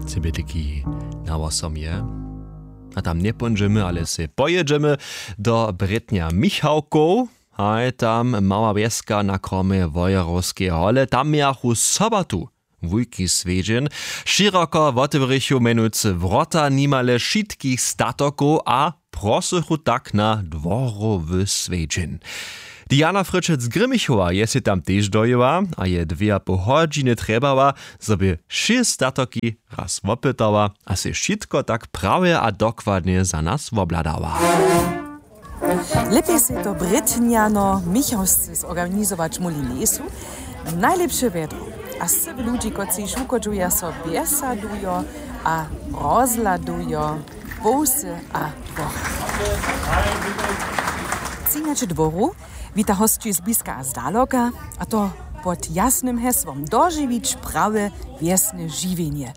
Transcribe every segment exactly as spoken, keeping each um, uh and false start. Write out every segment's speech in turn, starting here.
Cebje tiki na wosom je. A tam njepóńdźemy, ale sej pojědźemy do Brětnja Michałkow. Haj, tam mała wjeska na kromje Wojerowskeje hole, tam mějachu sobatu wujki swjedźeń. Šěroko wotewrěchu mjenujcy wrota nimale wšitkich statokow a prosychu tak na dworowy swjedźeń. Diana Fryczec-Grimmichowa je sej tam tež dojěła a je dwě a poł hodźiny trjebała, zo by wšě statoki raz wopytała a sej wšitko tak prawje a dokładnje za nas wobhladała. Lěpje sej to Brětnjano Michałsce zorganizować móhli njejsu. Najlěpše wjedro a sywy ludźi, kotřiž wuchodźuja, so wjesadujo a rozhladujo połsy a dwór. Třinjaće dwóru wita hosći zbliska a zdaloka, a to pod jasnym hesłom: Dožiwić prawe wjesne žiwjenje.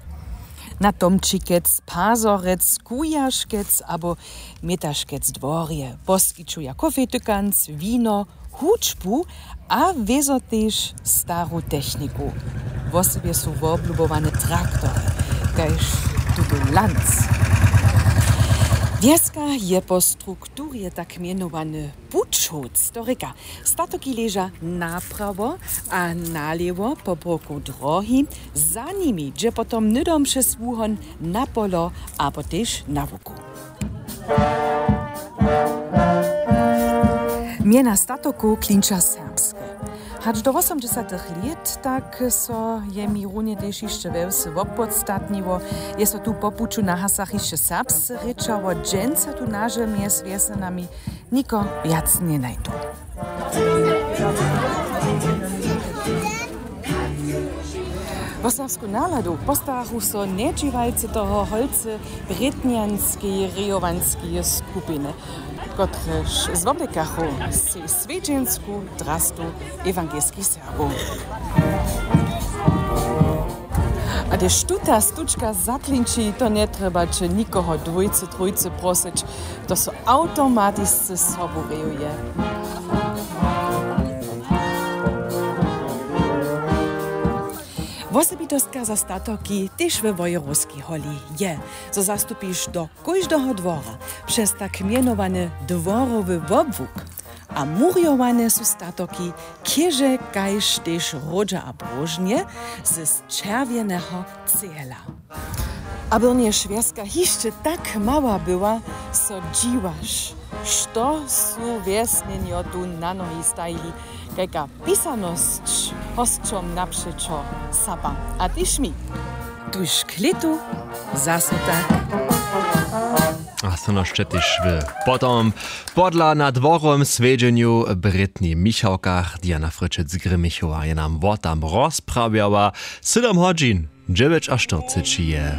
Na Tomčikec, Pazorec, Kujaškec abo Mětaškec dworje poskićuja kofej, tykanc, wino, hudźbu a wězo tež staru techniku. Wosebje su woblubowane traktory, kaž tutu Lanz. Wjeska je po strukturje tak mjenowany pućowc, to rěka, statoki leža naprawo a nalěwo po bróku drohi, za nimi dźe potom hnydom přez wuhon na polo abo tež na łuku. Mjena statokow klinča serbske. Hač do wosomdźesatych lět tak so je mi runje tež hišće we wsy wopodstatniło. Je so tu po puću na hasach hišće serbsce rěčało, dźensa tu na žemi z wjesnjenami niko wjac njenajdu. Wo serbsku naladu postarachu so njedźiwalcy toho holcy brětnjanskeje rejowanskeje skupiny, kotrež zwoblekachu sej swjedźensku drastu ewangelskich Serbow. A hdyž tuta stučka zaklinči, to njetrjebaće nikoho dwójce trójce prosyć, to so awtomatisce sobu rejuje. Wosebitostka za statoki tež we Wojerowskej holi je, zo zastupiš do kóždeho dwora přez tak mjenowany dworowy wobłuk. A murjowane su statoki chěže kaž tež hródźa a bróžnje z čerwjeneho cehla. A byrnjež wjeska hišće tak mała była, so dźiwaš, što su wjesnjenjo tu na nohi stajili, kajka pisanosć hosćom napřećo sapa. A tež mi tuž k lětu zaso tak. A so nošće tež wy potom podla na dworowym swjedźenju w Brětnjej Michałkach. Diana Fryczec-Grimmichowa je nam wo tam rozprawjała. Sydom hodźin dźewjećaštyrceći je.